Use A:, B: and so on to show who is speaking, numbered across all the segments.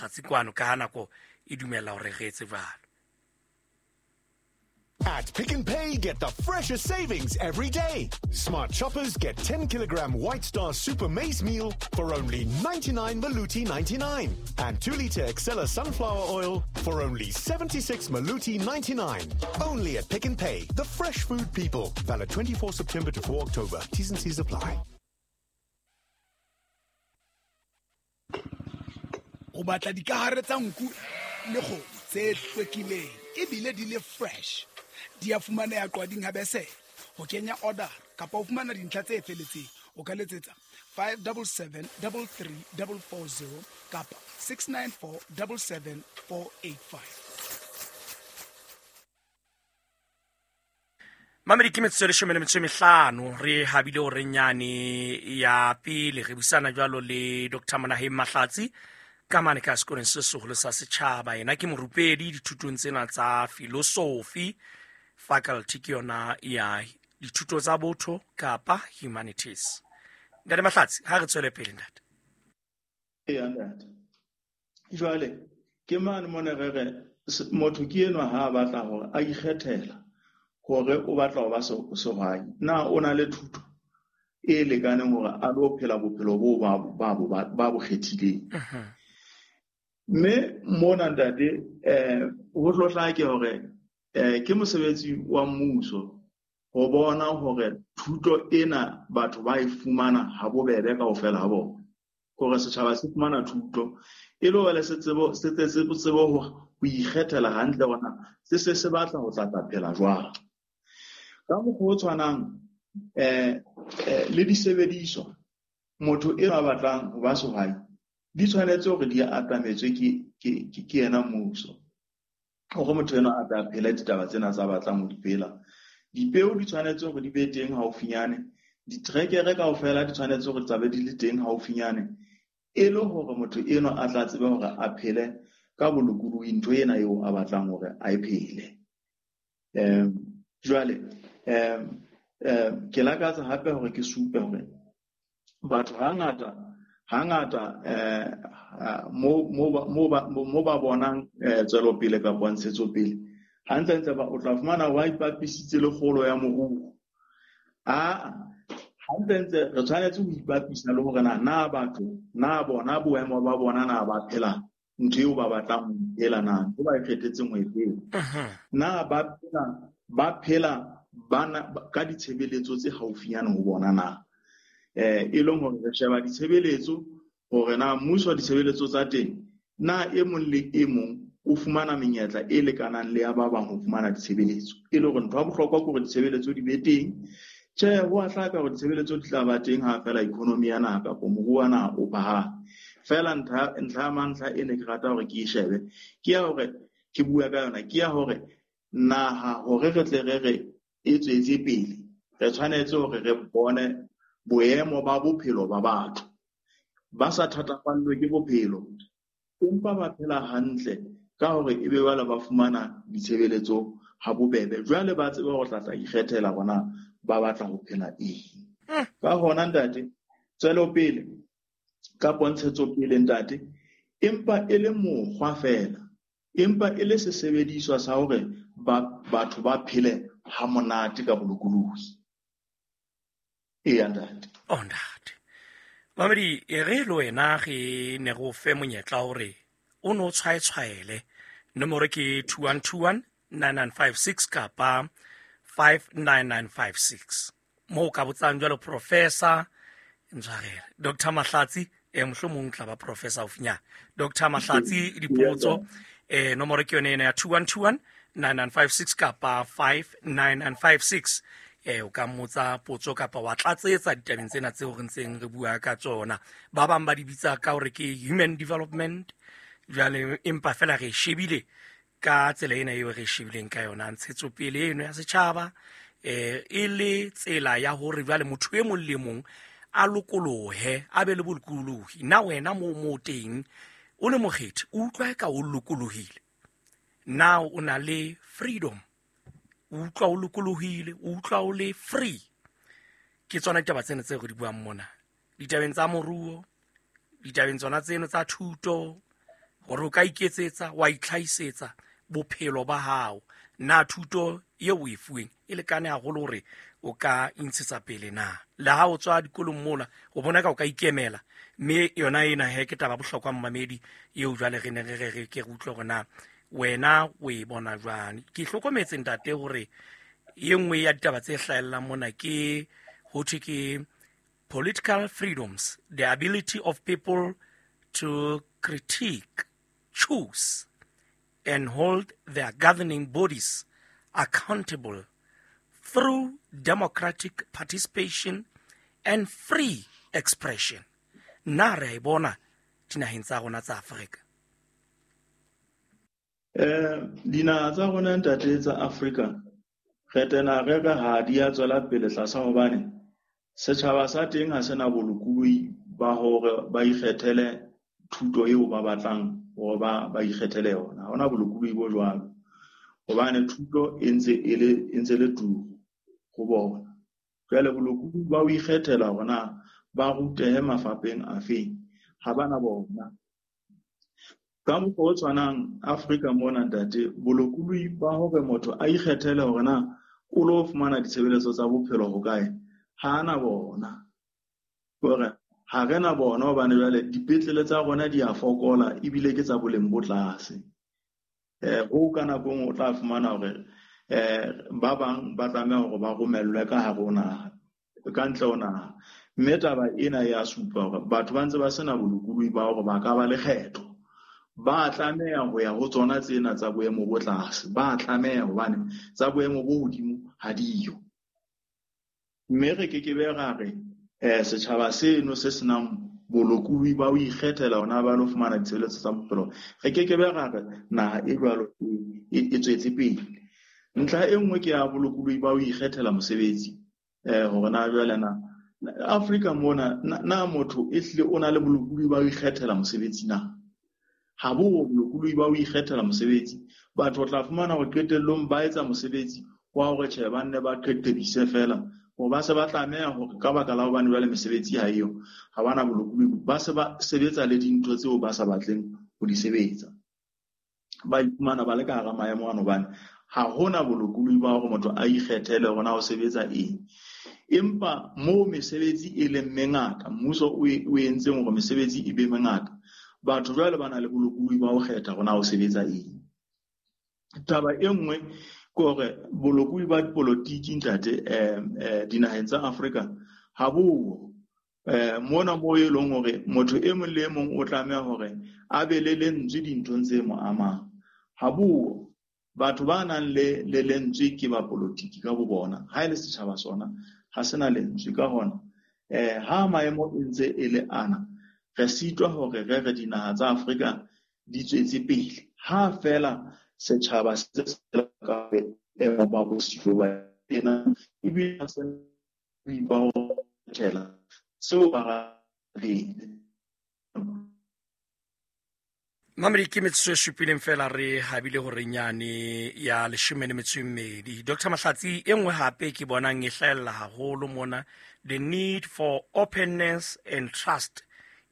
A: Mahlatsi kwano ka ha nako e dumella hore re etse jwalo.
B: At Pick n Pay, get the freshest savings every day. Smart shoppers get 10 kilogram White Star Super Maize Meal for only 99 Maluti 99 and 2 liter Excella sunflower oil for only 76 Maluti 99. Only at Pick n Pay, the fresh food people. Valid 24 September to 4 October. T's and C's apply.
C: O batla dikahare tsa nku le kgomo tse hlwekileng ebile di le fresh. Di a fumaneha Qwading ha Besele. Ho kenya order kapa ho fumana dintlha tse feletseng, o ka letsetsa 577 33440 kapa 694 77485.
A: Mamedi, ke metsotso e 15 re habile o nyane ya pele re busana jwalo le Dr. Monaheng Mahlatsi ka mane ka sekolong se seholo sa setjhaba. Yena ke morupedi dithutong tsena tsa philosophy, faculty ke yona ya dithuto tsa botho kapa humanities. Ntate Mahlatsi, ha re tswele pele, ntate.
D: Eya, ntate. Jwale ke mane mona re re motho ke enwa ha a batla hore a ikgethela hore o batla ho ba sehwai, na o na le thuto e lekaneng hore a lo phela bophelo boo ba bo kgethileng? Mme mona, ntate, ho tlo hlake hore ke mosebetsi wa mmuso ho bona hore thuto ena batho ba e fumana ha bobebe kaofela ha bona, hore setjhaba se fumana thuto e le hore se tsebe, se tle se tsebe ho ikgethela hantle hore na se se se batla ho tla tla phela jwang. Ka mokgwa o tshwanang, le disebediswa, motho e ba batlang ho ba sehwai di tshwanetse hore di atametswe ke yena mmuso, hore motho enwa a tla phela ditaba tsena tsa batlang ho di phela. Dipeo di tshwanetse hore di be teng haufinyane, ditrekere kaofela di tshwanetse hore tsa be di le teng haufinyane, e le hore motho enwa a tla tsebe hore a phele ka bolokolohi ntho ena eo a batlang hore a e phele. Jwale ke lakatsa hape hore ke supe hore batho hangata mo ba bonang tswelopele kapa ntshetsopele, hantlentle o tla fumana ba ipapisitse le kgolo ya moruo. Hantlentle re tshwanetse ho ipapisa le hore na batho, na bona boemo ba bona, na ba phela ntho eo ba batlang ho e phela, na ntho ba e kgethetseng ho e phela, na ba phela bana ka ditshebeletso tse haufinyane ho bona na. E leng hore re sheba ditshebeletso hore na mmuso ditshebeletso tsa teng, na e mong le e mong o fumana menyetla e lekanang le ya ba bang ho fumana ditshebeletso. E le hore ntho ya bohlokwa ke hore ditshebeletso di be teng. Tjhe, ho a hlaka hore ditshebeletso di tla ba teng ha feela economy ya naha kapa moruo wa naha o phahame. Feela ntlha ya mantlha e ne ke rata hore ke e shebe, ke ya hore ke bua ka yona, ke ya hore naha hore re tle re re e tswetse pele, re tshwanetse hore re bone boemo ba bophelo ba batho ba sa thatafallwe ke bophelo, empa ba phela hantle ka hore ebe jwale ba fumana ditshebeletso ha bobebe. Jwale ba tsebe hore tla tla ikgethela bona ba batla ho phela eng. Ka hona, ntate, tswelopele kapo ntshetsopele, ntate, empa e le mokgwa feela, empa e le sesebediswa sa hore batho ba phele ha monate ka bolokolohi. Eya, ntate.
A: Oh, ntate. Mamedi, e re le wena re ne re o fe monyetla hore o no tshwaetshwaele. Nomoro ke 2121 9956 kapa 59956. Moo ka botsang jwalo Professor Ntshwarele, Dr. Mahlatsi, mohlomong tla ba Professor haufinyana. Dr. Mahlatsi dipotso, nomoro ke yone ena ya 2121 9956 kapa 59956. O ka mmotsa potso kapa wa tlatsetsa ditabeng tsena tseo re ntseng re bua ka tsona. Ba bang ba di bitsa ka hore ke human development, jwale empa fela re shebile ka tsela ena eo re shebileng ka yona ntshetsopele eno ya setjhaba, e le tsela ya hore jwale motho e mong le mong a lokolohe, a be le bolokolohi. Na wena mo teng o le mokgethi, o utlwa eka o lokolohile? Na o na le freedom? O utlwa o lokolohile, o utlwa o le free? Ke tsona ditaba tsena tseo re di buang mona, ditabeng tsa moruo, ditabeng tsona tseno tsa thuto, Hore o ka iketsetsa wa itlhahisetsa bophelo ba hao. Na thuto eo o e fuweng e lekane haholo hore o ka intshetsa pele na? Le ha o tswa dikolong mola, o bona ka o ka ikemela. Mme yona ena he ke taba bohlokwa mmamedi eo jwale re ne re re re ke re utlwe hore na wena o e bona jwang. Ke hlokometse ntate hore e nngwe ya ditaba tse hlahellang mona ke ho thwe ke political freedoms, the ability of people to critique, choose and hold their governing bodies accountable through democratic participation and free expression. Na re a e bona dinaheng tsa rona tsa Afrika?
D: Dinaha tsa rona ntate tsa Afrika re tena re re ha di a tswela pele tlasa hobane setjhaba sa teng ha sena bolokolohi ba hore ba ikgethele thuto eo ba batlang hore ba ikgethele yona. Ha hona bolokolohi bo jwalo hobane thuto e ntse e le turu ho bona. Jwale bolokolohi ba ho ikgethela hore na ba rutehe mafapheng afeng ha bana bona. Ka mokgwa o tshwanang Afrika mona ntate, bolokolohi ba hore motho a ikgethele hore na o lo fumana ditshebeletso tsa bophelo hokae ha na bona. Hore ha re na bona hobane jwale dipetlele tsa rona di a fokola ebile ke tsa boleng bo tlase. Ho ka nako e nngwe o tla fumana hore ba bang ba tlameha hore ba romellwe ka hare ho naha, ka ntle ho naha. Mme taba ena ya supa hore batho ba ntse ba sena bolokolohi ba hore ba ka ba le kgetho. Ba tlameha ho ya ho tsona tsena tsa boemo bo tlase, ba tlameha hobane tsa boemo bo hodimo ha diyo. Mme re kekebe ra re setjhaba seno se senang bolokolohi ba ho ikgethela hona ba lo fumana ditshebeletso tsa bophelo, re kekebe ra re naha e jwalo e tswetse pele. Ntlha e nngwe ke ya bolokolohi ba ho ikgethela mosebetsi, hore na jwale na Afrika mona na motho e hlile o na le bolokolohi ba ho ikgethela mosebetsi na? Ha bo bolokolohi ba ho ikgethela mosebetsi. Batho o tla fumana hore qetellong ba etsa mosebetsi wa hore tjhe ba nne ba qeqebise fela, hore ba se ba tlameha hore ka baka la hobane jwale mesebetsi ha eyo, ha bana bolokolohi, ba se ba sebetsa le dintho tseo ba sa batleng ho di sebetsa. Ba iphumana ba le ka hara maemo ano hobane ha hona bolokolohi ba hore motho a ikgethele hore na o sebetsa eng. Empa moo mesebetsi e leng mengata, mmuso o entseng hore mesebetsi e be mengata, batho jwale ba na le bolokolohi ba ho kgetha hore na o sebetsa eng. Taba e nngwe ke hore bolokolohi ba dipolotiki ntate dinaheng tsa Afrika ha bo mona moo e leng hore motho e mong le e mong o tlameha hore a be le lentswe dinthong tse mo amang. Ha bo batho ba nang le lentswe ke ba polotiki ka bo bona, ha e le setjhaba sona ha sena lentswe. Ka hona ha maemo e ntse e le ana, re sitwa hore re re dinaha tsa Afrika di tswetse pele ha fela setjhaba se se ka boemo ba bosiyo ba ena ebile se ba ho thela seo ba reng.
A: Mamedi ke metsotso e supileng fela re habile hore nyane ya 12. Dr. Mahlatsi, e nngwe hape ke bonang e hlahella haholo mona, the need for openness and trust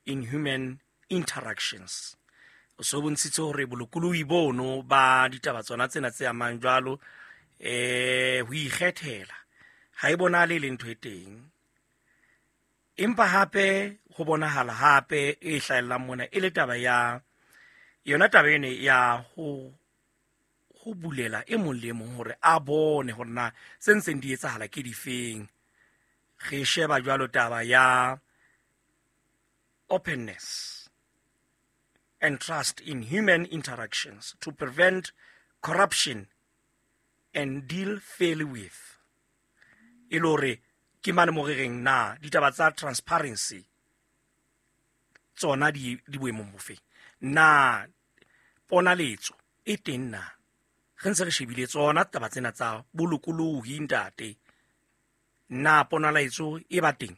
A: in human interactions. O so bontshitse hore bolokolohi bono ba ditaba tsona tsena tse amang jwalo ho ikgethela ha e bonahale le ntho e teng. Empa hape ho bonahala hape e hlahellang mona e le taba ya yona taba ene ya ho bulela e mong le mong hore a bone hore na se ntseng di etsahala ke difeng. Re sheba jwalo taba ya openness and trust in human interactions to prevent corruption and deal fairly with. E le hore ke mane mo re reng na ditaba tsa transparency tsona di boemong bofe? Na ponaletso e teng na? Re ntse re shebile tsona taba tsena tsa bolokolohi ntate. Na ponaletso e ba teng?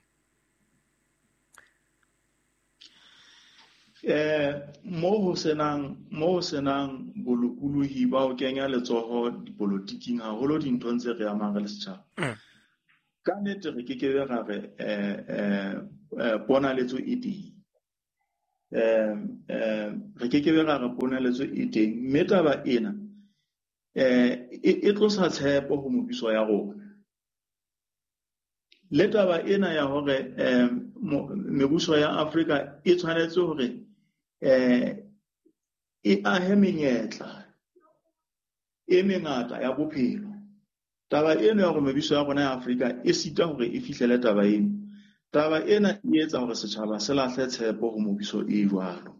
D: Mo ho senang bolokolohi ba ho kenya letsoho dipolotiking haholo dinthong tse re amang re le setjhaba. Ka nnete re kekebe ra re ponaletso e teng. Re ke ke be ra re poneletso e teng, mme taba ena e tlosa tshepo ho mebuso ya rona. Le taba ena ya hore mebuso ya Afrika e tshwanetse hore e ahe menyetla e mengata ya bophelo. Taba ena ya hore mebuso ya rona ya Afrika e sita hore e fihlele taba eno. Taba ena e etsa hore setjhaba se lahle tshepo ho mebuso e jwalo.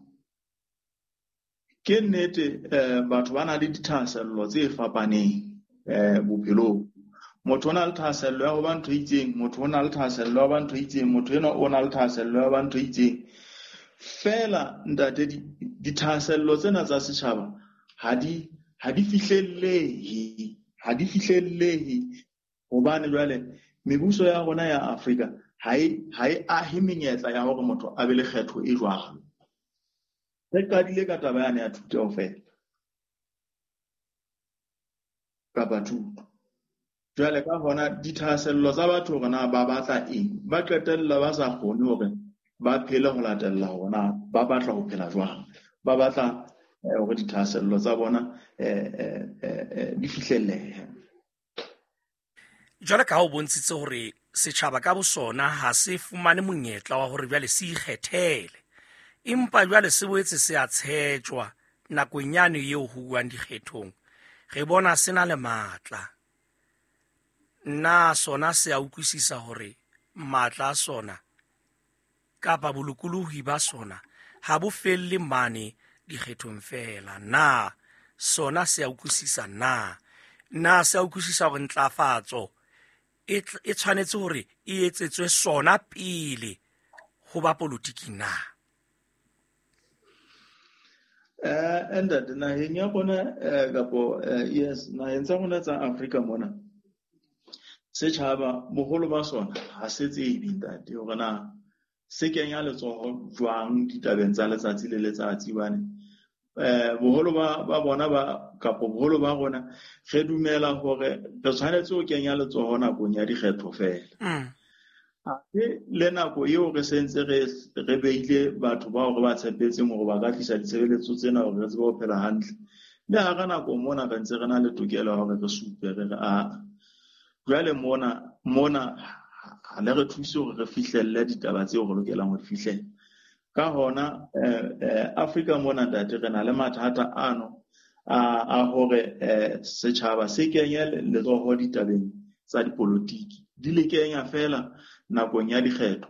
D: Ke nnete batho ba na le dithahasello tse fapaneng bophelong. Motho o na le thahasello ya ho ba ntho e itseng, motho o na le thahasello ya ho ba ntho e itseng, motho enwa o na le thahasello ya ho ba ntho e itseng. Feela ntate, dithahasello tsena tsa setjhaba ha di fihlellehe, ha di fihlellehe hobane jwale mebuso ya rona ya Afrika ha e ahe menyetla ya hore motho a be le kgetho e jwalo. Re qadile ka taba yane ya thuto feela kapa thuto. Jwale ka hona dithahasello tsa batho hore na ba batla eng, ba qetella ba sa kgone hore ba phele ho latella hore na ba batla ho phela jwang, ba batla hore dithahasello tsa bona di fihlellehe.
A: Jwale ka ha o bontshitse hore setjhaba ka bosona ha se fumane monyetla wa hore jwale se ikgethele, empa jwale se boetse se a tshetjwa nakong yane eo ho uwang dikgethong, re bona se na le matla. Na sona se a utlwisisa hore matla a sona kapa bolokolohi ba sona ha bo felle mane dikgethong feela? Na sona se a utlwisisa na? Na se a utlwisisa hore ntlafatso e tshwanetse hore e etsetswe sona pele ho ba politiki na?
D: Ntate, naheng ya rona kapo yes, naheng tsa rona tsa Afrika mona, setjhaba boholo ba sona ha se tsebe ntate hore na se kenya letsoho jwang ditabeng tsa letsatsi le letsatsi. Hobane boholo ba bona ba kapo boholo ba rona re dumela hore re tshwanetse ho kenya letsoho nakong ya dikgetho feela. Le nako eo re sentse re beile batho bao re ba tshepetseng hore ba ka tlisa ditshebeletso tsena hore re tsebe ho phela hantle. Le hara nako mona re ntse re na le tokelo ya hore re supe re re a jwale mona ha le re thuse hore re fihlelle ditaba tseo re lokelang ho di fihlella. Ka hona Afrika mona ntate re na le mathata ano a hore setjhaba se kenye letsoho ditabeng tsa dipolotiki, di le kenya feela nakong ya dikgetho,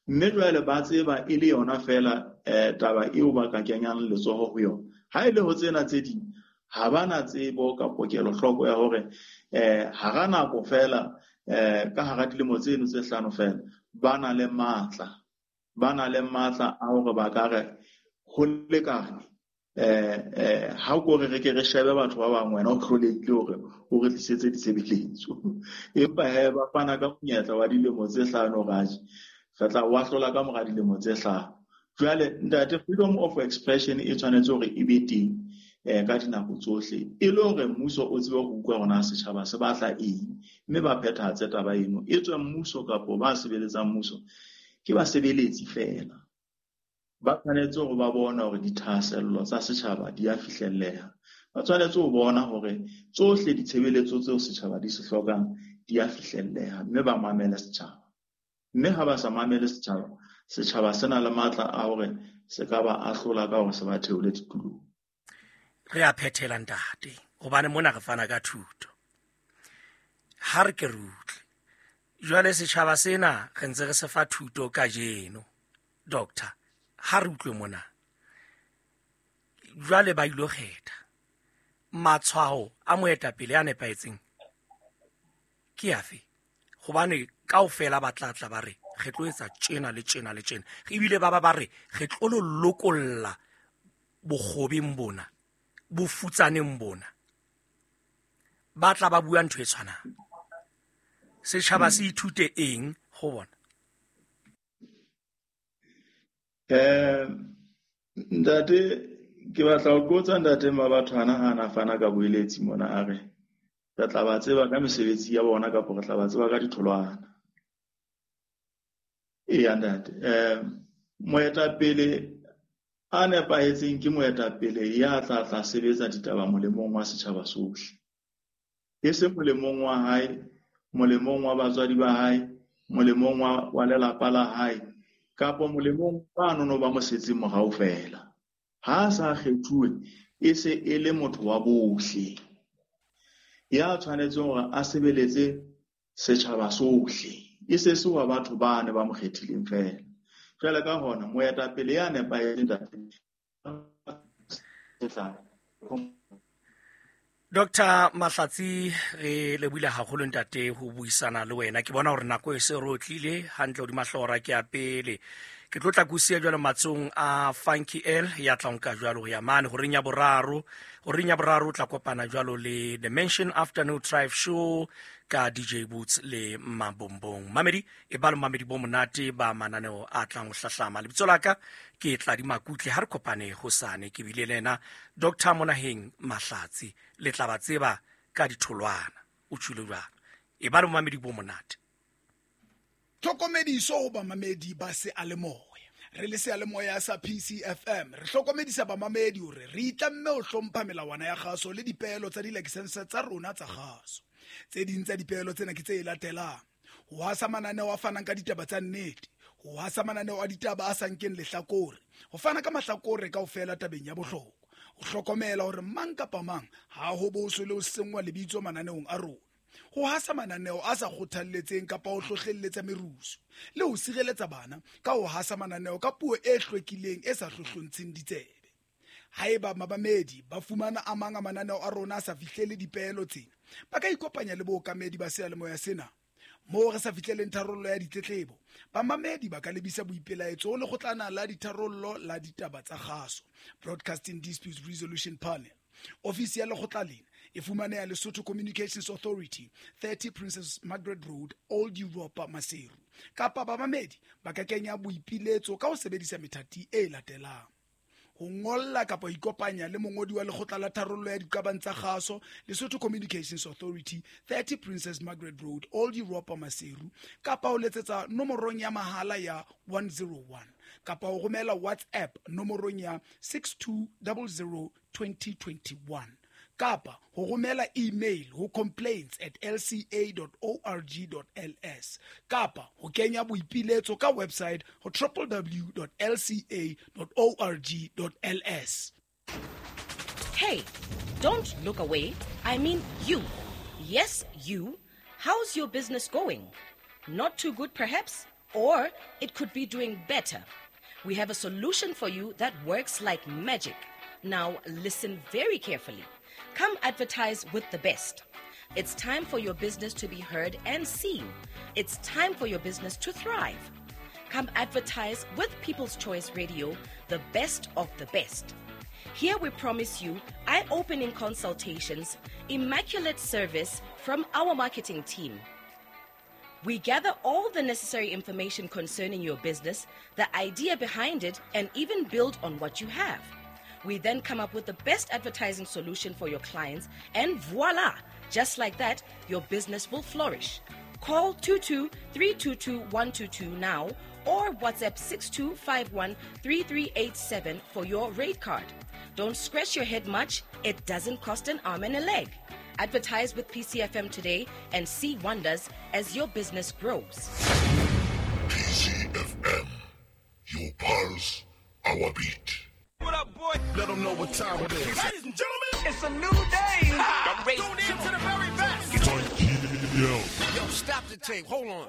D: mme jwale ba tseba e le yona feela taba eo ba ka kenyang letsoho ho yona. Ha e le ho tsena tse ding ha ba na tsebo kapo kelohloko ya hore hara nako feela ka hara dilemo tseno tse hlano feela ba na le matla, ba na le matla a hore ba ka re ho lekane. Ha o re re ke re shebe batho ba bang, wena o hlolehile hore o re tlisetse ditshebeletso, empa he ba fana ka monyetla wa dilemo tse hlano raje re tla wa hlola ka mora dilemo tse hlano. Jwale ntate, freedom of expression e tshwanetse hore e be teng ka dinako tsohle, e le hore mmuso o tsebe ho utlwa hore na setjhaba se batla eng, mme ba phethahatse taba eno. E tswe mmuso kapo ba sebeletsang mmuso ke basebeletsi feela, ba tshwanetse hore ba bone hore dithahasello tsa setjhaba di a fihlelleha. Ba tshwanetse ho bona hore tsohle ditshebeletso tseo setjhaba di se hlokang di a fihlelleha, mme ba mamele setjhaba. Mme ha ba sa mamele setjhaba, setjhaba se na le matla a hore se ka ba ahlola ka hore se ba theole ditulong.
A: Re a phethela ntate, hobane mona re fana ka thuto. Ha re ke re utlwe jwale setjhaba sena re ntse re se fa thuto kajeno, doctor. Ha re utlwe mona jwale ba ilo kgetha matshwao a moetapele a nepahetseng ke afe? Hobane kaofela ba tla tla ba re re tlo etsa tjena le tjena le tjena, ebile ba re re tlo lo lokolla bokgobeng bona, bofutsaneng bona. Ba tla ba bua ntho e tshwanang. Setjhaba se ithute eng ho bona?
D: Ntate, ke batla ho qotsa ntate Mabathwana ha na fana ka boeletsi mona, a re re tla ba tseba ka mesebetsi ya bona kapa re tla ba tseba ka ditholwana. Eya ntate, moetapele A nepahetseng ke moetapele ya tla tla sebetsa ditaba molemong wa setjhaba sohle. E se molemong wa hae, molemong wa batswadi ba hae, molemong wa lelapa la hae, kapa molemong ba nono ba mo setseng morao feela. Ha a sa kgethuwe, e se e le motho wa bohle ya tshwanetseng hore a sebeletse setjhaba sohle, e se se wa batho ba ne ba mo kgethileng feela. Jwale ka hona moetapele ya nepahetseng ntate.
A: Dr. Mahlatsi, re lebohile haholo ntate ho buisana le wena. Ke bona hore nako e se re otlile hantle hodima hlora ke ya pele. Ke tlo tla kusia jwalo matsong a Funky L ya tla nka jwalo ho ya mane horeng ya boraro. Horeng ya boraro o tla kopana jwalo le The Mansion Afternoon Drive Show ka DJ Boots le Mabombong. Mamedi e ba le mamedi bo monate ba mananeo a tlang ho hlahlama. Lebitso la ka ke Tladi Makutle, ha re kopane hosane. Ke bile le yena Dr. Monaheng Mahlatsi, le tla ba tseba ka ditholwana. O tjhule jwalo. E ba le mamedi bo monate.
C: Tlhokomediso ho bamamedi ba seyalemoya. Re le seyalemoya sa PCFM re hlokomedisa bamamedi hore re itlamme ho hlompha melawana ya kgaso le dipeelo tsa dilakesense tsa rona tsa kgaso. Tse ding tsa dipeelo tsena ke tse latelang: ho hasa mananeo a fanang ka ditaba tsa nnete, ho hasa mananeo a ditaba a sa nkeng lehlakore, ho fana ka mahlakore kaofela tabeng ya bohlokwa, ho hlokomela hore mang kapa mang ha ho boswe le ho senngwa lebitso mananeong a rona, ho hasa mananeo a sa kgothalletseng kapa ho hlohlelletsa merusu, le ho sireletsa bana ka ho hasa mananeo ka puo e hlwekileng e sa hlohlontsheng ditsebe. Haeba mabamedi ba fumana a mang a mananeo a rona a sa fihlele dipeelo tsena, ba ka ikopanya le bookamedi ba seyalemoya sena. Moo re sa fihleleng tharollo ya ditletlebo, bamamedi ba ka lebisa boipelaetso ho lekgotlana la ditharollo la ditaba tsa kgaso, Broadcasting Disputes Resolution Panel. Ofisi ya lekgotla lena e fumaneha Lesotho Communications Authority, 30 Princess Margaret Road, Old Europa, Maseru. Kapa bamamedi ba ka kenya boipiletso ka ho sebedisa methati e latelang: ho ngolla kapa ho ikopanya le mongodi wa lekgotla la tharollo ya diqabang tsa kgaso, Lesotho Communications Authority, 30 Princess Margaret Road, Old Europa, Maseru, kapa ho letsetsa nomorong ya mahala ya 101, kapa ho romela WhatsApp nomorong ya 6200 2021, kapa ho romela email ho complaints@lca.org.ls, kapa ho kenya boipiletso ka website ho www.lca.org.ls.
E: Hey, don't look away. I mean you. Yes, you. How's your business going? Not too good, perhaps? Or it could be doing better. We have a solution for you that works like magic. Now, listen very carefully. Come advertise with the best. It's time for your business to be heard and seen. It's time for your business to thrive. Come advertise with People's Choice Radio, the best of the best. Here we promise you eye-opening consultations, immaculate service from our marketing team. We gather all the necessary information concerning your business, the idea behind it, and even build on what you have. We then come up with the best advertising solution for your clients, and voila! Just like that, your business will flourish. Call 22-322-122 now or WhatsApp 6251-3387 for your rate card. Don't scratch your head much. It doesn't cost an arm and a leg. Advertise with PCFM today and see wonders as your business grows.
F: PCFM, your pulse, our beat.
G: What up, boy?
F: Let them know what time it is.
G: Ladies and gentlemen, it's a new day. I'm tune in to the very best.
F: Yo,
G: stop the tape. Hold on.